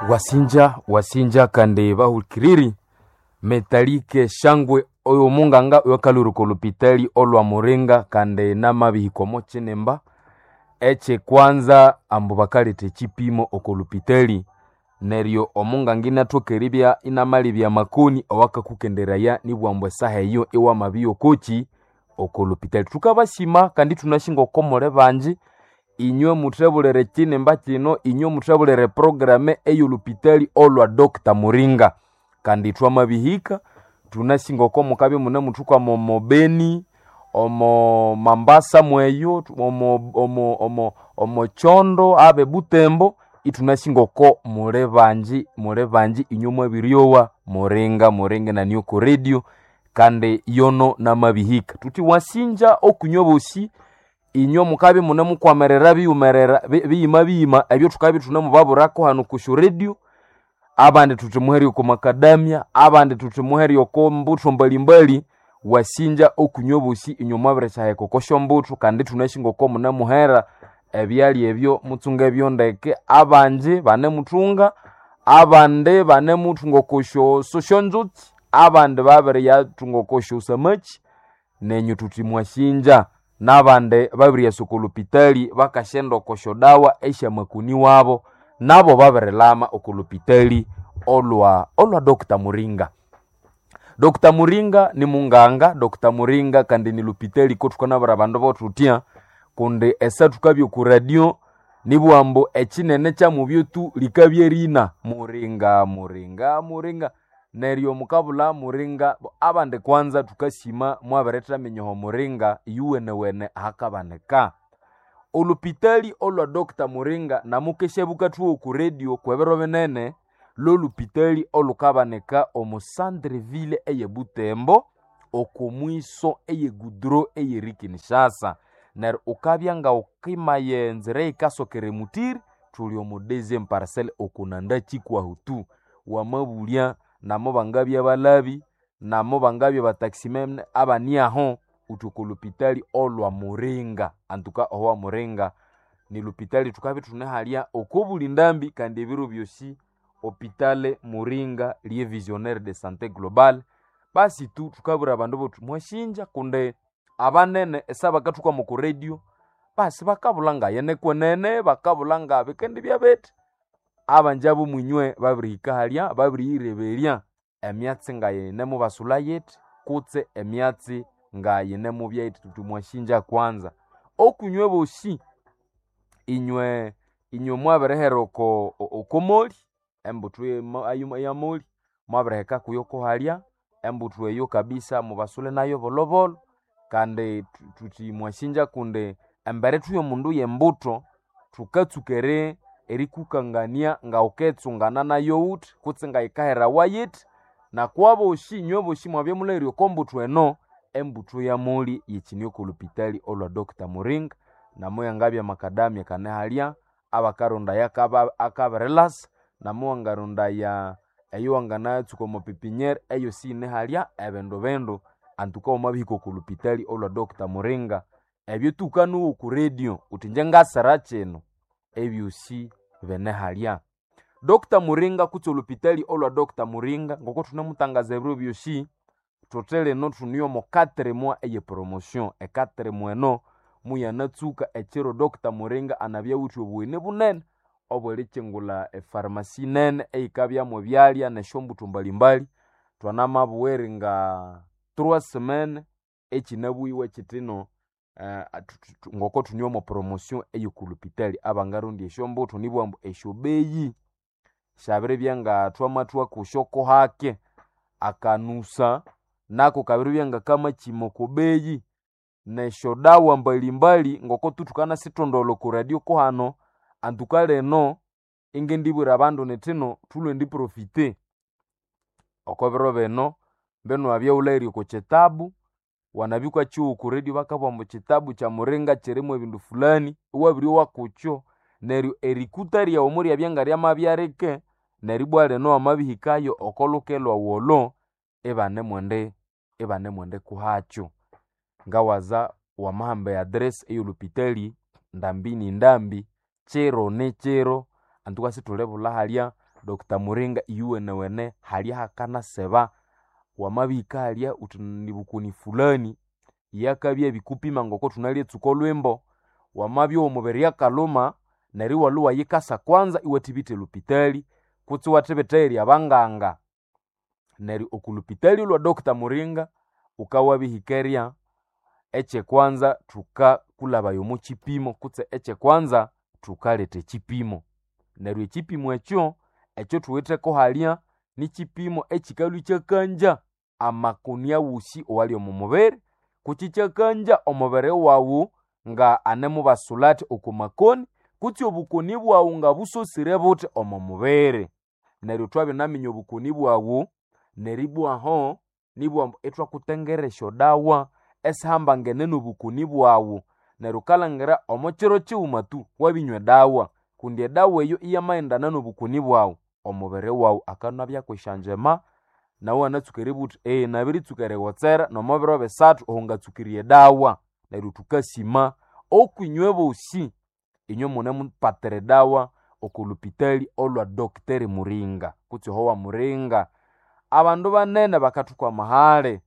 Wasinja wasinja kandi bahulikiriri metalike shangwe oyo munganga oyokalhuruka olupitali olwa Muringa kandi namabihika omo kinimba ekyekwanza ambu bakaletha ekyipimo oko lupitali neryo omunganga inathoka eribya inamalebya amakoni awakakukenderaya nibughambu ambu esaha eyo iwamabya okoki oko lupitali. Thukabasima kandi ithunasi ngoko muli bangi inywe muthebulere ekyinimba kino, inywe muthebulere eprogram ey'olupitali olwa Dr. Muringa kandi thwamabihika thunasi ngoko mukabya imunemuthukwama omo Beni, omo Mambasa mweyo, omo Kyondo abe Butembo ithunasi ngoko muli bangi muli bangi inywe mwabiryowa Muringa Muringa inani oko radio kandi yono namabihika. Thuthi wasinja okunywa bosi inywe mukabya imunemukwamirira biyumerera biyima biyima ebyo thukabya ithunemubabwirako hano kusyo radio abandi thuthi muhere oko makadamia abandi thuthi muhere oko mbuthu mbalimbali wasinja okunywa bosi inywe mwabirisyaheka oko syombuthu kandi ithunasi ngoko munemuhera ebyalya ebyo mutsunge byondeke abangi banemuthunga abandi banemuthunga oko syosyonzutsi abandi babiriyathunga oko syosamaki nenyu thuthi mwasinja n'abandi babiriyasa oko lupitali bakasyenda oko syodawa esyamakoni wabo nabo babirilama oko lupitali olwa olwa Dr. Muringa. Dr. Muringa ni munganga, Dr. Muringa kandi ni lupitali kothukanabwira abandu bothutya kundi esa thukabya oku radio nibugha ambu ekinene kyamubyo tu likabya erina Muringa Muringa Muringa neryo mukabulha Muringa abandi kwanza thukasima mwabirithaminyaho Muringa iyuwenewene ahakabanika. Olupitali olwa Dr. Muringa namukesya bukathuwa oku radio kwebiro binene lolupitali olukabanika omo centre ville eye Butembo oko mwiso eye goudron eyeri Kinshasa neryo ukabya nga wukimaya enzira eyikasokera emutiri thuli omo deuxième parcelle okunanda kikwahu tu wamabulya namo bangabya balabi namo bangabya bataximene abaniaho uthi oko lupitali olwa Muringa antuka owa Muringa ni lupitali thukabya ithunehalya oko buli ndambi kandi ebiro byosi hopitale Muringa liye visionnaire de santé globale basi tu thukabwira abandu bothi mwasinja kundi abanene esa bakathukama oko radio basi bakabulha ngayene kwenene bakabulha nga bikendibya bithi abangi abomwinywe babirihika halya babiriyireberya emyatsi ngayinemubasulha yithi kutse emyatsi ngayinemubya yithi thuthi mwasinja kwanza. Okunywe bosi inywe inywe mwabirihera oko okomoli embuthu eyamoli mwabiriheka kuyo kuhalya embuthu eyo kabisa mubasule nayo bolhobolho kandi thuthi mwasinja kundi embere thu yomundu yembuthu thukatsuka erikukangania ngawuketsungana nayo wuthi kutse ngayikaherawa yithi nakwabosi inywe bosi mwabya mulhahira oko mbuthu eno embuthu yamoli yikine oko lupitali olwa Dr. Muringa namo yangabya makadamia kanehalya abakarondaya akabirilasa namo wangarondaya eyo wanganatsuka omo pepiniere eyosi yinehalya ebindu bindu antuka wamabihika oko lupitali olwa Dr. Muringa ebyo thukanuwa oku radio wuthi ingye ngasira kino ebyosi binehalya. Dr. Muringa kutse olupitali olwa Dr. Muringa ngoko thunemutangaza ebiro byosi thuthi lino thune omo quatre mois eye promotion e quatre mois eno muyanatsuka ekiro Dr. Muringa anabya awithe obugheni bunene obwerikyingulha epharmacy nene eyikabyamu ebyalya nesyombuthu mbalimbali thwanamabugha eri nga trois semaines ekyinabughiwe kyithino ngoko thune omo promotion ey'oku lupitali abangarondya esyombuthu nibugha ambu esyobeyi syabiribya nga thwamathwa kusyo kuhake akanusa nako kabiribya ngakamakyima oko beyi nesyodawa mbalimbali ngoko tu thukanasithondolha oko radio kuhano antuka lino ingendibwira abandu nithino thulwe ndiprofite oko biro bino mbinu wabya wulhahira oko kyitabu wanabya wukakyigha oko radio bakabugha ambu kyitabu kya Muringa kyirimu ebindu fulani iwabiryowa kukyo neryo erikuta ryawu muryabya ngaryamabya rike neryo ibwa lino wamabihikayo oko luke lwawu olo ibanemwendi ibanemwendi kuhakyo. Ngawaza wamahamba e address ey'olupitali ndambi ni ndambi kiro ni kiro antuka sithulibulha halya. Dr. Muringa iyuwenewene halya hakanaseba wamabihika halya uthi nibukoni fulani yakabya bikupima ngoko thunalyetsuka olhwimbo. Wamabya omubiri akaluma neryo iwalhwa iwayikasa kwanza iwathibitha elupitali kutse iwathibitha eyiri abanganga. Neryo oku lupitali olwa Dr. Muringa wukawabihika ekyekwanza thukakulhabaya omo kyipimo kutse ekyekwanza thukaletha ekyipimo. Neryo ekyipimo ekyo, ekyo thuwitheko halya nikyipimo ekyikalhwa ikyakangya amakoni awosi owali omo mubiri kutse ikyakangya omubiri wawu nga anemubasulha athi oko makoni kutse obukoni bwawu nga busosire buthi omo mubiri. Neryo thwabinaminya obukoni bwawu neribwaho nibughambu ithwakutengera esyodawa esihambangene nobukoni bwawu. Neryo wukalhangira omo kiro kighuma tu wabinywa edawa kundi edawa eyo iyamaghendana nobukoni bwawu omubiri wawu akanabyaku esyangyema nawu iwanatsuka eribugha wuthi nabiritsuka erigotsera nomo biro bisathu oho ngatsukirye edawa. Neryo thukasima okwinywe bosi inywe munemupatira edawa oko lupitali olwa Dr. Muringa kutse ohowa Muringa. Abandu banene bakathukwama hali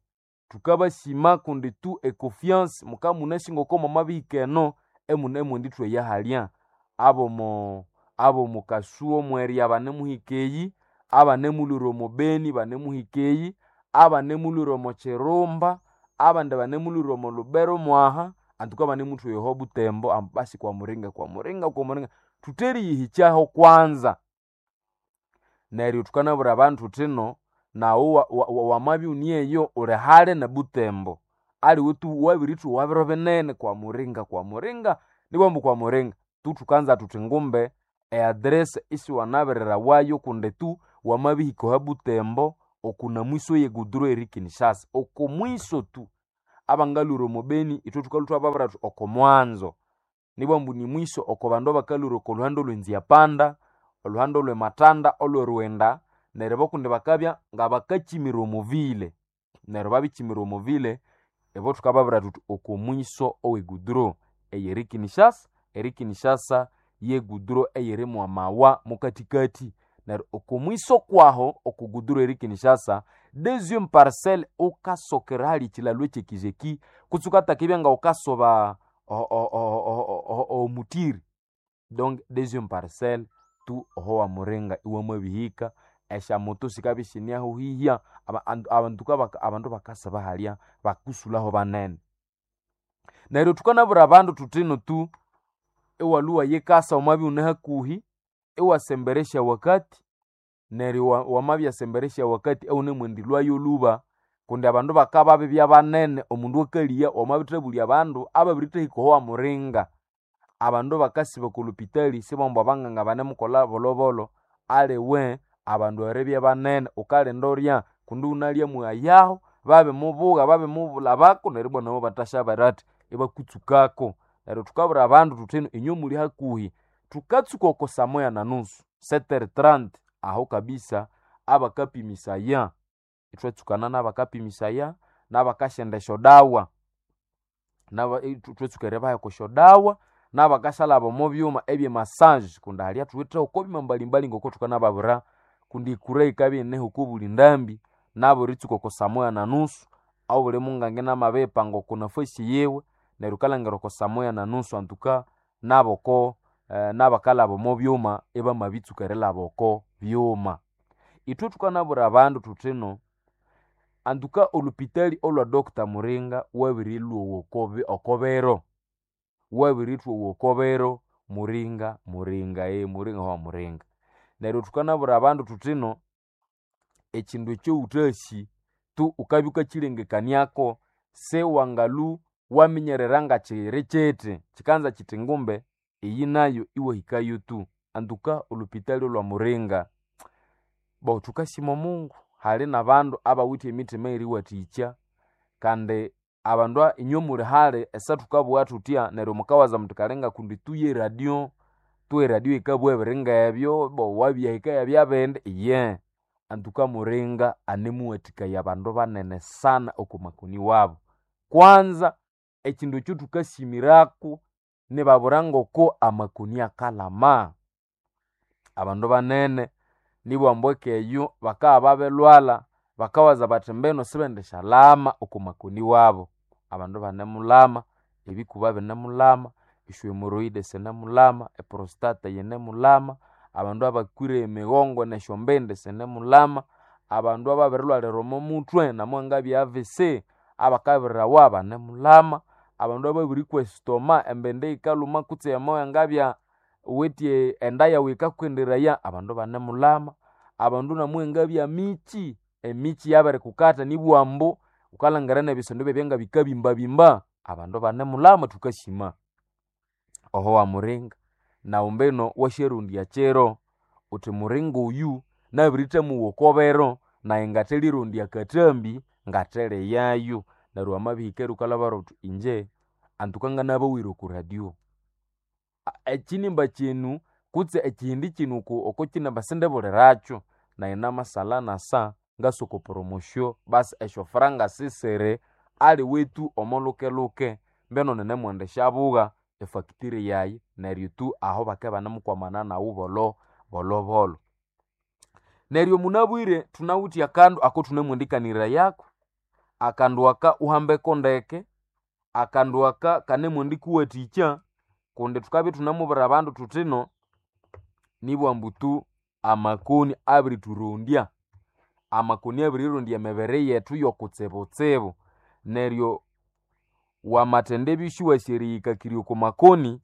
thukabasima kundi tu econfiance mukamunasi ngoko mwamabihika eno emunemwendithweya halya. Abomo abomukasuo mwerya banemuhika eyi, abanemulhwira omo Beni banemuhika eyi, abanemulhwira omo Kirumba, abandi banemulhwira omo Lubero mwaha, antuka banemuthweya oho Butembo ambu basi kwa Muringa kwa Muringa kwa Muringa. Thuteriyihikyaho kwanza. Neryo thukanabwira abandu thuthino naghu wamabya ighune eyo ghuli hali ne Butembo aliwe tu wabirithowa biro binene kwa Muringa kwa Muringa nibughambu kwa Muringa tu thukanza thuthi ngumbe eaddress isiwanabirirawayo kundi tu wamabihika oha Butembo okuna mwiso ye guduro eri Kinshasa oko mwiso tu. Abangalhwira omo Beni ithwe thukalhwa ithwababwira thuthi oko mwanzo nibughambu ni mwiso oko bandu abakalhwira oko lhuhando olwe Nziapanda, olhuhando olwe Matanda, olwe Rwenda neryo bo kundi bakabya ngabakakyimira omo ville. Neryo babikyimira omo ville ibo thukababwira thuthi oko mwiso owe guduro eyiri Kinshasa, eri Kinshasa ye guduro eyiri mwamawa mukathikathi. Neryo oko mwiso kwaho oko guduro eri Kinshasa deuxième parcelle wukasokera hali ekyilalo ekyekizeki kutse wukataka nga wukasoba omutiri donc deuxième parcelle tu oho wamuringa iwamabihika esyamoto sikabya isineho hihya abandu bakasiba halya bakusulaho banene. Neryo thukanabwira abandu thuthino tu iwalhwa iwayikasa wamabya ighune hakuhi iwasemberesya wakati neryo wamabyasemberesya wakati ewunemwendilhwayo lhuba kundi abandu bakababibya banene omundu akaliya wamabithabulya abandu ababirithahika oho wamuringa. Abandu bakasiba oko lupitali sibambu abanganga banemukolha bolhobolho aliwe abandu eribya banene wukalinda urya kundi ighunalya mughayaho babimubugha babimubulhabako neryo ibwa nabo ibathasya athi ibakutsukako. Neryo thukabwira abandu thuthino inywe muli hakuhi thukatsuka oko saa moya na nusu 7:30 aho kabisa abakapimisaya ithwatsukana nabakapimisaya nabakasyenda esyodawa ithwatsuka eribaha okwasyodawa nabakasyalhaba omo byuma ebye massage kundi halya thuwithe oko byuma mbalimbali ngoko thukanababwira kundi ekura yikabya iyineho oko buli ndambi nabiritsuka oko saa moya na nusu obuli munganga inamabiripanga oko nafasi yiwe neryo wukalhangira oko saa moya na nusu antuka naboko nabakalhaba omo byuma ibamabitsuka erilhaba oko byuma. Ithwe thukanabwira abandu thuthino antuka olhupitali olwa Dr. Muringa wabirilhwowa oko biro, wabirithwowa oko biro Muringa Muringa Muringa wa Muringa. Neryo thukanabwira abandu thuthino ekyindu ekyowuthasi tu wukabya wukakyilengekaniako siwangalhu waminyerera ngakyiri kyithi kyikanza kyithi ngumbe iyi nayo iwahikayo tu. Antuka olhupitali olwa Muringa bo thukasima Omungu hali nabandu abawithe emithima eyeriwathikya kandi abandu inywe muli hali esathukabugha thuthya neryo mukawaza muthi kalinga kundi tuye eradio, tu eradio yikabugha ebiri ngebyo bo wabyahika yabyabindi iye. Antuka Muringa anemuwathikaya abandu banene sana oko makoni wabu. Kwanza ekyindu ekyo thukasimirako nibabwira ngoko amakoni akalhama. Abandu banene Nibwambu ekeyo bakabya babirlwalha bakawaza bathi mbino sibendishalama oko makoni wabo. Abandu ibanemulama, ebikuba binemulama, esyohemorrhoid sinemulama, eprostate yinemulama, abandu abakwire emigongo nesyombindi sinemulama, abandu ababirilhwalira omo muthwe namwangabya AVC abakabirirawa banemulama, abandu ababirikwa estoma embindi yikalhuma kutse yamawangabya ghuwithe enda yawu yikakukenderaya abandu ibanemulama, abandu namwangabya michi, emichi yabirikukatha nibwambu ghukalhangira nebisondo ibyabya ngabikabimbabimba abandu ibanemulama thukasima. Oho wamuringa naghu mbino wasyarondya kiro ghuthi muringa oyu nabirithamowa oko biro nayi ngathelirondya akathambi ngathelighayo. Neryo wamabihika eryo ghukalhabara ghuthi inje antuka nganabowere oko radio. Ekyinimba kyinu kutse ekyihindi kyinu oko kyinimba sindibulirakyo nayi namasalha nasa ngasa oko promotion basi esyofuranga sisiri aliwetu omo luke-luke mbino ninemwendisyabuga efactory yayi neryo tu aho bakabya ibanemukwamana naghu bolho bolho. Neryo munabwire thunawithe akandu akathunemwendikanirayako, akandu aka wuhambeko ndeke, akandu aka kanemwendikuwathikya kundi thukabya ithunamubwira abandu thuthino nibwambu tu amakoni abirithurondya, amakoni abirirondya emibiri yethu yokutsibutsibu neryo wamathendibya isiwasi eriyikakirya oko makoni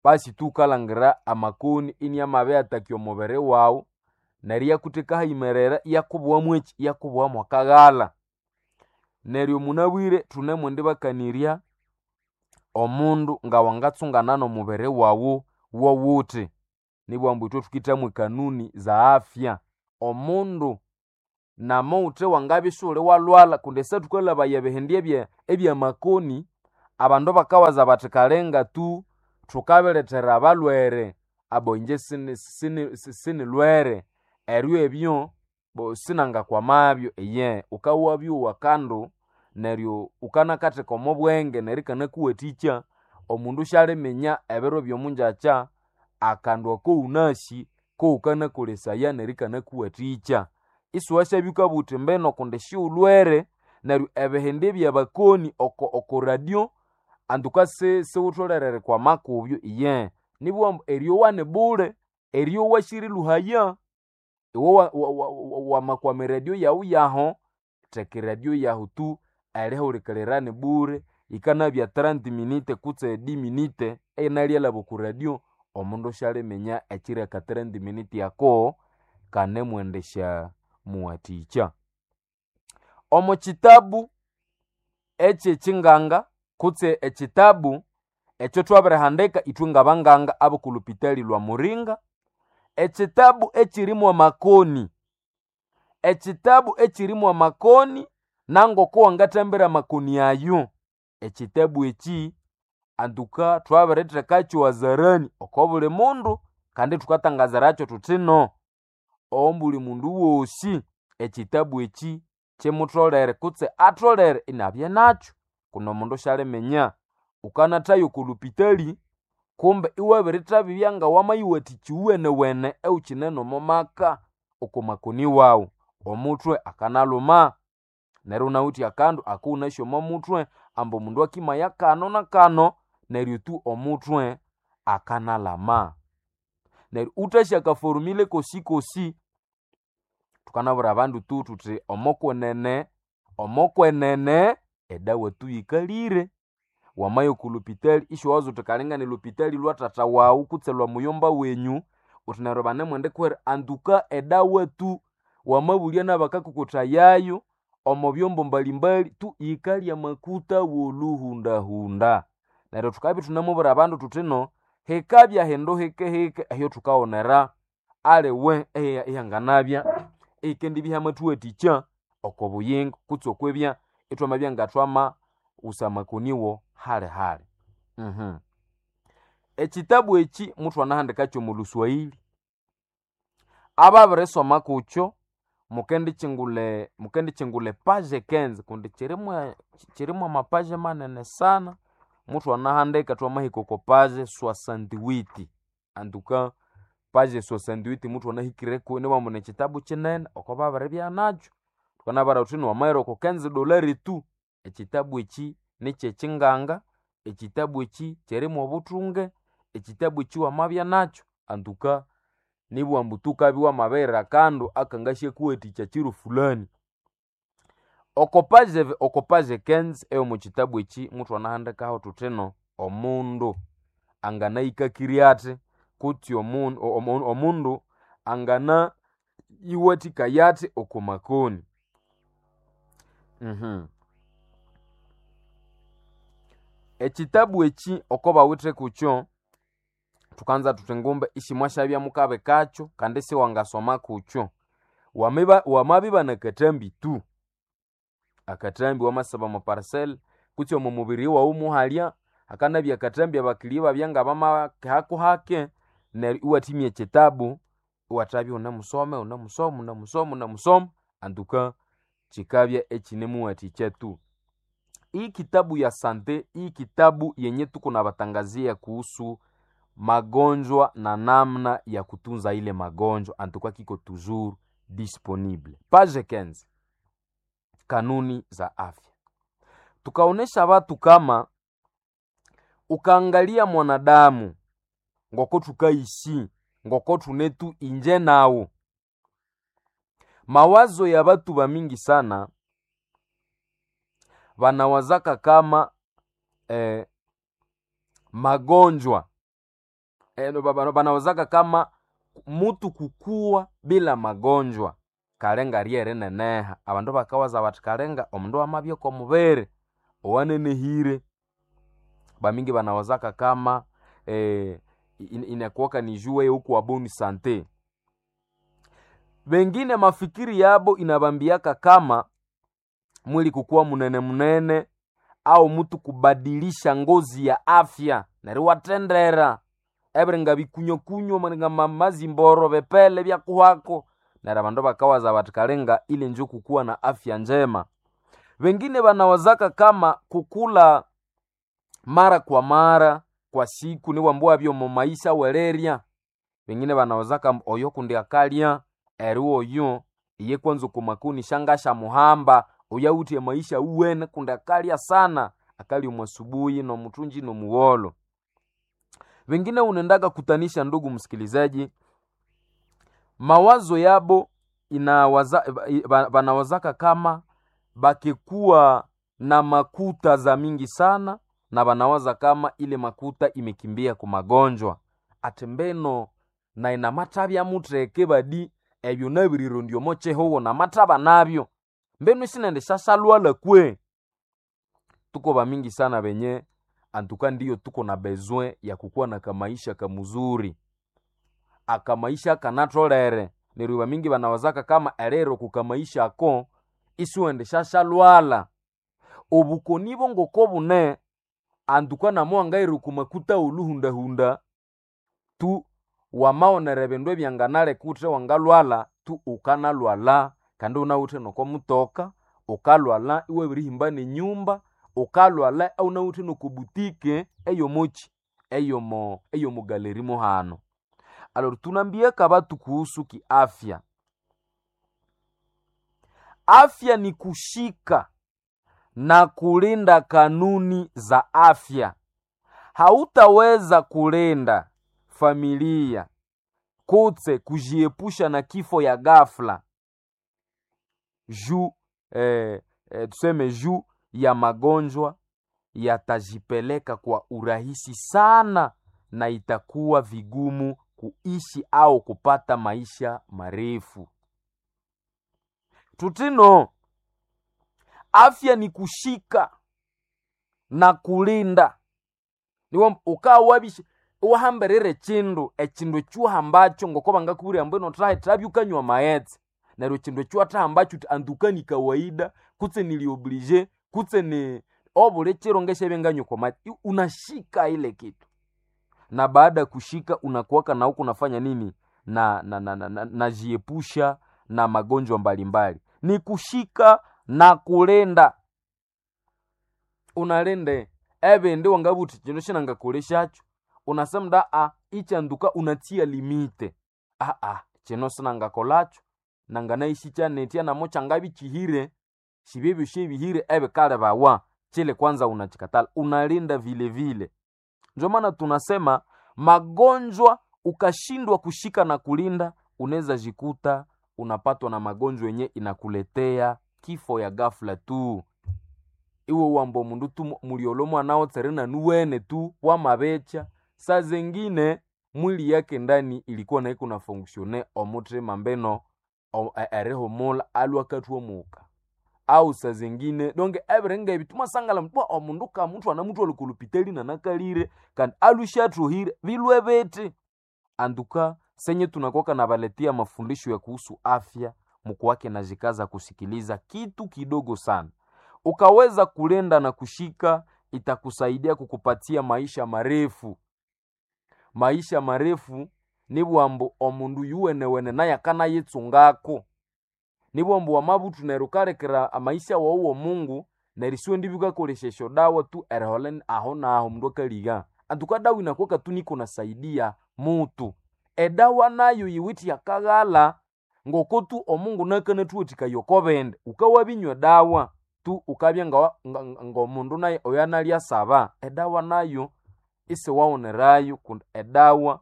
basi tu ghukalhangira amakoni iniamabiyataka omubiri waghu neryo iyakutheka hayimerere iyakubuwa mwekyi, iyakubuwa mwakaghalha. Neryo munabwire thunemwendibakanirya omundu ngawangatsungana nomubiri waghu wowuthi. Nibwambu ithwe thukithamu ekanuni za afya. Omundu namawuthe wangabya isighuli walhwalha kundi esaa thukalhabaya ebihindi ebyamakoni abandu bakawaza bathi kalinga tu thukabilethera abalhwere abo inje sinilhwere eryo ebyo sinangakwamabyo iye ghukawabyowa akandu neryo ghukanakatheka omo bwenge neryo ikanakuwathikya omundu syaliminya ebiro byomungyakya akandu ako ghunasi koghukanakolesaya neryo ikanakuwathikya. Isiwasyabya ghukabugha ghuthi mbino kundi sighulhwere neryo ebihindi ebyabakoni oko radio antuka sighutholere erikwama kubyo iye. Nibughambu eryowa ni bule, eryowa sirilhuhaya. Iwe wamakwama eradio yaghu yaho, theka eradio yahu tu erihulikirira ni bure yikanabya 30 minute kutse 10 minute eyinalyalhaba oko radio omundu syaliminya ekyiro aka 30 minute ako kanemwendesya muwathikya. Omo kyitabu ekyekyinganga kutse ekyitabu ekyathwabirihandika ithwe ngabanganga abokolhupitali lwa Muringa, ekyitabu ekyirimu amakoni, ekyitabu ekyirimu amakoni nangoko wangathambira amakoni ayo, ekyitabu ekyi antuka thwabirithekakyo hadharani oko buli mundu kandi thukatangaziracyo thuthino ombuli mundu wosi ekyitabu ekyi kyimutholere kutse atholere inabya nakyo kundi omundu syaliminya ghukanathaya oko lhupitali kumbe iwabirithabibya ngawamayiwathikya iwenewene ewukyine nomo maka oko makoni waghu. Omuthwe akanalhuma neryo iwunawithe akandu akughunasi omo muthwe ambu omundu akimaya kano na kano neryo tu omuthwe akanalhama. Neryo wuthasi akaforumile kosikosi thukanabwira abandu tu thuthi omokwenene, omokwenene edawa tu yikalire. Wamaya oko lhupitali isiwawaza wuthi kalinga nilhupitali lwa thatha waghu kutse lwa muyomba wenyu ghuthi neryo banemwendikuhera antuka edawa tu wamabulya nabakakokothayayo omo byombo mbalimbali tu yikalya amakuta wolhuhundahunda. Neryo thukabya ithunamubwira abandu thuthino hikabya hindu hike-hike ehyathukawonera aliwe ihanganabya ihikendibya ihamathuwathikya oko buyingo kutse okwibya ithwamabya ngathwamawusa amakoni wo hali-hali. Ekyitabu ekyi muthwanahandikakyo omo luswahili, ababirisoma kukyo mukendikyingula mukendikyingula epage 15 kundi kyirimu kyirimu amapage manene sana muthwanahandika thwamahika oko page 68 antuka. Page 68 muthu anahikireko, niwambu nekitabu kinene oko babiribya nakyo. Thukanabara thuthi niwamaghira oko $15 tu. Ekitabu eki nikyekyinganga, ekitabu eki kyirimu obuthunge, ekitabu eki wamabya nakyo antuka nibughambu ambu tu wukabya wamabirira akandu akangasyakuwathikya kiro fulani. Oko page 15 eyomo kitabu eki muthwanahandikaho thuthino omundu anganayikakirya athi kutse omundu angana yiwathikaya athi oko makoni. Ekitabu eki oko bawithe kukyo, thukanza thuthi ngumbe isimwasyabya mukabikakyo kandi isiwangasoma kukyo. Wamabibana akathambi tu, akathambi wamasiba omo parcel kutse omo mubiri wawu muhalya, hakanabya akathambi abakiliya ibabya ngabamakihaku hake, neryo iwathimya ekitabu iwathabya iwunemusoma, iwunemusoma, iwunemusoma, iwunemusoma antuka kikabya ikinemuwathikya tu. Hii kitabu ya sante, hii kitabu yenye tuko nabatangazia kuhusu magonjwa na namna ya kutunza ile magonjwa antuka kiko toujours disponible. Page 15, kanuni za afya. Tukaonesha watu kama ukaangalia mwanadamu ngoko tukaishi ngoko tunetu inje nawo, mawazo ya batu bamingi sana banawazaka kama magonjwa banawazaka kama mutu kukua bila magonjwa kalenga ryerineneha. Abandu bakawaza bati kalenga omundu amabya oko mubiri owanenehire. Bamingi banawazaka kama inakuwaka ni juu wewe uko bonne sante. Bengine mafikiri yabo inabambiaka kama mwili kukuwa munene munene au mutu kubadilisha ngozi ya afya neryo iwathendera ebiringa bikunyokunyo maringa mazimboro bepele byakuhako, neryo abandu bakawaza bati kalinga ile njo kukuwa na afya njema. Wengine banawazaka kama kukula mara kwa mara kwa siku niwambu wabyo mu maisha welerya. Wengine banawazaka mbu oyo kundi akalya eri oyo iye kwanza okumakuni shangasha muhamba oyo awithe maisha uwene kundi akalya sana, akalya omu asubuhi nomuthunji nomugholo. Wengine unendaka kutanisha, ndugu msikilizaji, mawazo yabo inawaza, banawazaka kama bakikuwa na makuta za mingi sana, na banawaza kama ile makuta imekimbia ku magonjwa ati mbeno na inamathabya mutheke badi ebyo nabirirondya omo kihugho namathaba nabyo mbeno isinende syasyalwala kwe. Tuko bamingi sana benye antuka ndiyo tuko na besoin ya kukuwa na kamaisha kamuzuri, akamaisha kanatholere. Neryo bamingi banawazaka kama erero kukamaisha ako isiwende syasyalwala. Obukoni bongoko bune antuka namuhangaira okumakuta oluhundahunda tu wamawonera ebindu ebyanganaleka wuthi wangalwala tu ukanalwala kandi wunawithe noko mutoka, ukalwala iwabirihimba nenyumba, ukalwala iwunawithe noko butike eyomoki eyomo galeri muhano. Alor tunambiaka batu kuhusu kiafya. Afya ni kushika na kulinda kanuni za afya. Hautaweza kulinda familia kutse kujiepusha na kifo ya ghafla juu tuseme juu ya magonjwa yatajipeleka kwa urahisi sana, na itakuwa vigumu kuishi au kupata maisha marefu. Tutino, afya ni kushika na kulinda. Niwo ukawabisha wahambirire chindu echindu ekyuhambacho ngoko bangakubwira ambu ino thahi ukanywa amaghetse, neryo echindu ekyuwathahambacho uthi antuka ni kawaida kutse nili oblige kutse ni obuli kiro ngesyabya nganywa okwa maghetse, unashika ile kitu, na baada ya kushika unakuwaka na huku unafanya nini na najiepusha na magonjwa mbalimbali. Ni kushika na kulinda, unalinde ebindi wangabugha wuthi kino sinangakolesyacho, unasemda a ichanduka unatia limite. Aa, kino sinangakolakyo, nanganayĩsĩkya nitya namo kyangabya ikyihire, sibye ebyosi ebihire ebikalebawa. Kile kwanza unachikatala, unalinda vile vile. Ndio maana tunasema magonjwa ukashindwa kushika na kulinda, unaweza jikuta unapatwa na magonjwa yenye inakuletea kifo ya ghafla tu. Iwe wambo mundu tu muliolo mwana otsere na nuwene tu wamabecha. Saa zengine mwili yake ndani ilikuwa na iko na fonctionne omuthima mbeno erihumula alwa akathomoka, au saa zengine donge ebiringa ebi thumasangala bwa omundu kamuthwana anamuthwalha oko lupitali nanakalire kandi alwisya athohire bilwe bithi. Anduka senye tunakuwaka nabaletea mafundisho ya kuhusu afya, mukuwake najikaza kusikiliza kitu kidogo sana. Ukaweza kulinda na kushika, itakusaidia kukupatia maisha marefu. Maisha marefu nibwambu omundu yuwenewene naye akanayitsungako. Nibwambu wamabuthu neryo wukalekera amaisha wawu w'omungu neryo isiwendibya wukakolesya esyodawa tu eriholha aho naho omundu akaligha. Antuka dawa inakuwaka tu niko nasaidia mutu. Edawa nayo yiwithe akaghalha ngoko tu omungu nakanathuwathikaya oko bindi. Wukawabinywa edawa tu wukabya ng'omundu naye oyanalya asaba. Edawa nayo isiwawunirayo kundi edawa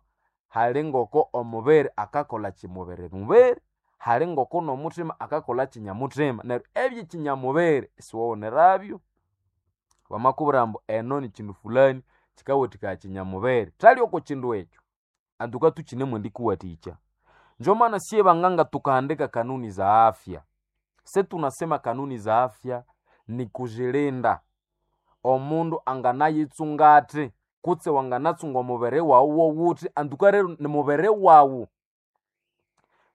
hali ngoko omubiri akakolha kimubiri mubiri, hali ngoko n'omuthima akakolha kinyamuthima. Neryo ebyekinyamubiri isiwawunirabyo. Bamakubwira ambu eno ni kindu fulani kikawathikaya kinyamubiri, thali oko kindu ekyo antuka tukinemwendikuwathikya. Njo maana siye banganga tukahandika kanuni za afya. Se tunasema kanuni za afya ni kujilinda. Omundu anganayitsunga athi kutse wanganatsunga omubiri wawu wowuthi antuka rero ni mubiri wawu.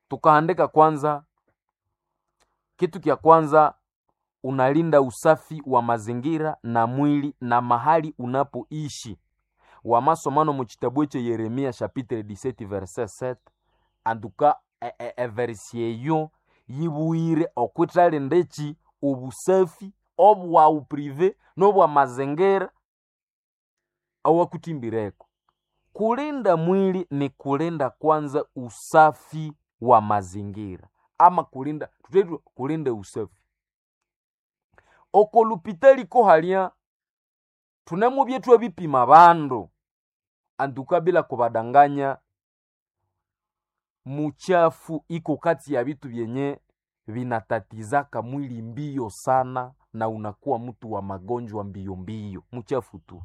Tukahandika kwanza, kitu kya kwanza unalinda usafi wa mazingira na mwili na mahali unapoishi. Wamasomano mu kitabu ekye Yeremia chapitre 17 verset 7 antuka eversi eyo yibuyire okwithalinda eki obusafi obwawu prive n'obwamazingira awakuthimbireko. Kulinda mwili ni kulinda kwanza usafi wa mazingira ama kulinda tuthethu kulinda usafi. Oko lupitali kohalya thunemubya ithwabipima abandu antuka bila kubadanganya, muchafu iko kati ya vitu vyenye vinatatizaka mwili mbio sana na unakuwa mtu wa magonjwa mbio mbio, muchafu tu.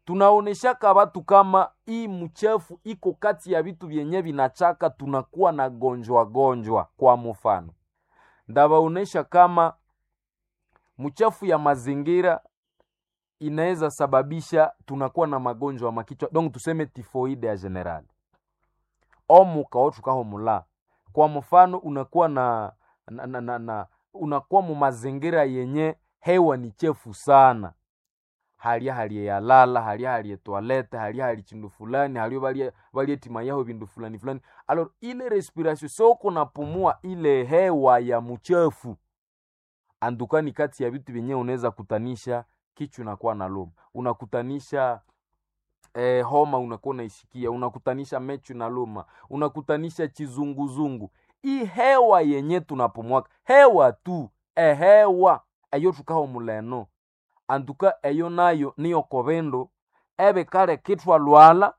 Tunaoneshaka watu kama hii mchafu iko kati ya vitu vyenye vinachaka tunakuwa na gonjwa gonjwa. Kwa mfano, ndawaonesha kama mchafu ya mazingira inaweza sababisha tunakuwa na magonjwa makichwa, donc tuseme tifoide ya general omuka othukahumula. Kwa mfano unakuwa na unakuwa mu mazingira yenye hewa ni chefu sana, halya hali yalala, halya hali toilette, halya hali chindu fulani, halyo balyetima yaho bindu fulani fulani. Alors ile respiration soko napumua ile hewa ya mchafu andukani, kati ya vitu vyenyewe unaweza kutanisha kichwa unakuwa na luma, unakutanisha homa unakuwa unaisikia, unakutanisha mechu na luma, unakutanisha chizunguzungu. Hii hewa yenye tunapumwaka hewa tu ehewa eyo tukahumuleno antuka eyo nayo niyo kobindu ebikaleka ithwalhwalha,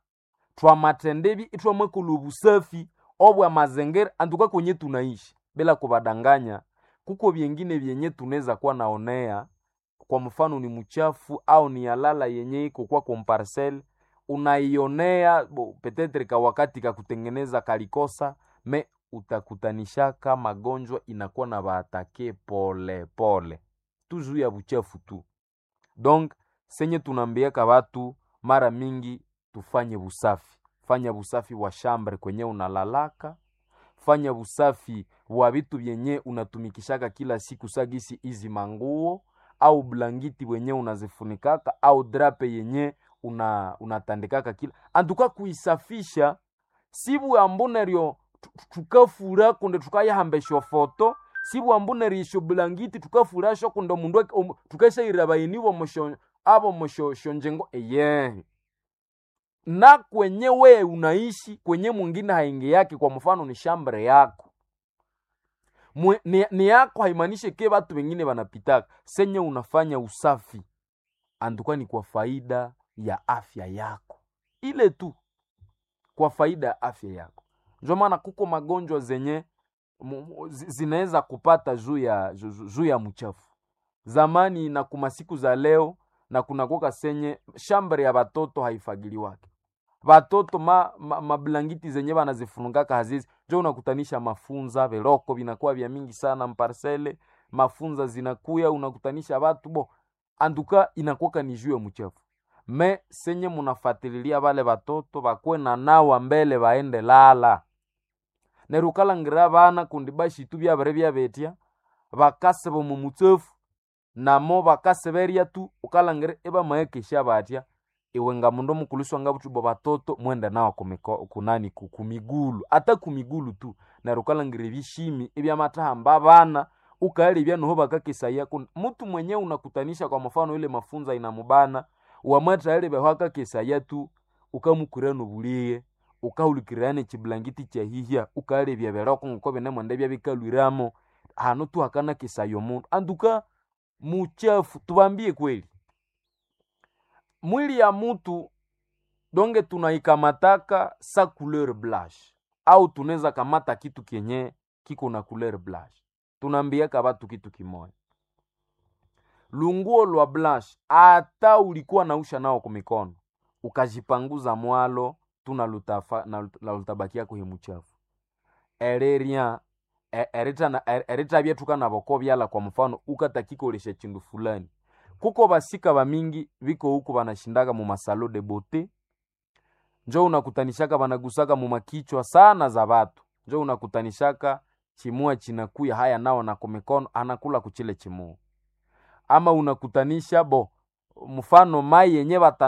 thwamathendibi ithwamakolha obusafi obwa mazingira antuka kwenye tunaishi. Bila kubadanganya, kuko byengine byenye tunaweza kuwa naonea, kwa mfano ni mchafu au ni yalala yenye iko kwako mparcel unaionea petetre ka wakati ka kutengeneza kalikosa me utakutanishaka magonjwa inakuwa na baatake pole pole tuzu ya buchafu tu. Donc senye tunaambiaka watu mara mingi tufanye busafi, fanya busafi wa shambre kwenye unalalaka, fanya busafi wa vitu vyenye unatumikishaka kila siku sagisi izi manguo au blangiti wenye unazifunikaka au drape yenye unatandikaka kila antuka kuisafisha sibwambu neryo tukafura kundi tukayahamba esyofoto, sibwambu neryo esyo blangiti tukafurasyo kundi omundu tukasyaira abayeni abo musyonjingo eyehe. Na kwenye we unaishi kwenye mwingine haingi yake, kwa mfano ni shambre yako. Ni yako haimaanishe ke watu wengine wanapitaka. Senye unafanya usafi anduka ni kwa faida ya afya yako, ile tu kwa faida ya afya yako. Ndio maana kuko magonjwa zenye zinaweza kupata juu ya mchafu zamani na kumasiku za leo, na kunakoka senye shambre ya batoto haifagiliwake batoto mablangiti zenye banazifungaka hazizi njo unakutanisha mafunza veloko vinakuwa vya mingi sana mparsele mafunza zinakuya unakutanisha batu bo anduka inakuwaka ni juu ya mchafu. Me senye munafatililia bale batoto bakwe na nawa mbele baende lala neryo ukalangira bana kundi bashitu byabere byabetya bakasiba omu mutsafu namo bakaseberya tu ukalangira ibamaghakesya batya. Iwe nga mundu mukulhu isiwangabuthi bo batoto mwende nawa kunani kumigulu ata kumigulu tu neryo ukalangira ebishimi ibyamathahamba abana ukalebya noho bakakesaya kundi mutu mwenye unakutanisha kwa mfano ile mafunza inamubana wamathalebya aho akakesaya tu ukamukura nobulighe ukahulikirira nekyibulangiti kyahihya ukalebya ebiroko ngoko binemwenda ibyabikalhwiramo hanu tu hakanakesaya omundu anduka muchafu. Tubambie kweli mwili ya mutu donge tunaikamataka sa couleur blanche au tunaweza kamata kitu kenye kiko na couleur blanche. Tunaambiaka batu kitu kimoya, lunguo lwa blanche ata ulikuwa nausha nao kumikono ukajipanguza mwalo tunalutabakia kuhe muchafu ereria eritabya tukanaboko byala. Kwa mfano ukatakikolesha chindu fulani kuko basika bamingi biko huku banashindaka mu masalo de beauté, njo unakutanishaka banagusaka mu makichwa sana za batu, njo unakutanishaka chimua chinakuya haya nao na kumikono anakula kuchile chimua, ama unakutanisha bo mfano mai yenye bata